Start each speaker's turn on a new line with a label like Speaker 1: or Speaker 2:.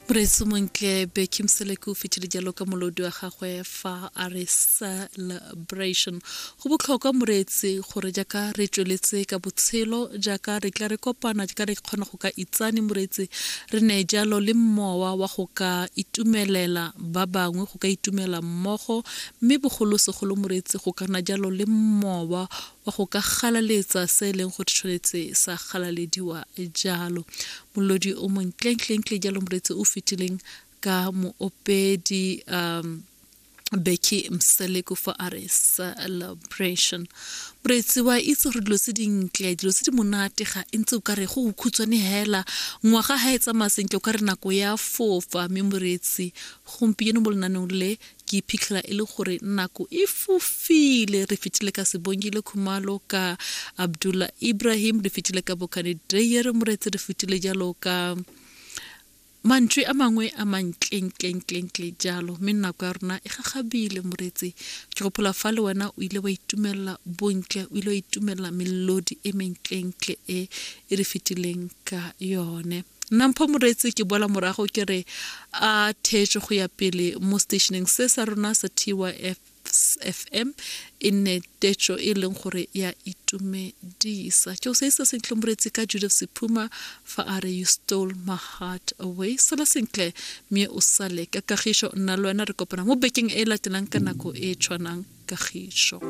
Speaker 1: Moreetsi montle Becky Mseleke o fetile jalo ka molodi wa gagwe fa a re celebration. Go botlhokwa moreetsi gore jaaka re tsweletse ka botshelo, jaaka re tla re kopana, jaaka re kgona go ka itsane moreetsi, re ne jalo le mowa wa go ka itumelela ba bangwe, go ka itumela mmogo, mme bogolosegolo moreetsi go ka nna jalo le mowa wa go ka galaletsa se e leng gore tshwanetse sa galalediwa jalo. Molodi o montlentlentle jalo moreetsi o fetileng ka moopedi um Becky Mseleku fa a re celebration. Moreetsi wa itse gore dilo tse dintle, dilo tse di monate ga e ntse o ka re go khutshwane hela, ngwaga ha e tsamaya sentle o ka re nako ya fofa, mme moreetsi gompieno mo lenaneong le ke iphitlhela e le gore nako e fofile. Re fetile ka Sebongile Khumalo, ka Abdullah Ibrahim, re fetile ka Bokane Dreyer moreetsi, re fetile jalo ka mantswe a mangwe a mantlentlentlentle jalo, mme nako ya rona e gagabile moreetsi. Ke gopola fa le wena o ile wa itumelela bontle, o ile wa itumelela melodi e mentlentle e e re fetileng ka yone. Nna Mpho moreetsi ke boela morago ke re a theetšo go ya pele mo stationeng se sa rona sa TYF FM e nne tetšo e leng gore ya itumedisa. Ke o se isa sentle moreetsi ka Judith Sephuma fa a re you stole my heart away. Sala sentle mme o sale ka kagišo, nna le wena re kopana mo bekeng e latelang ka nako e tshwanang. Kagišo.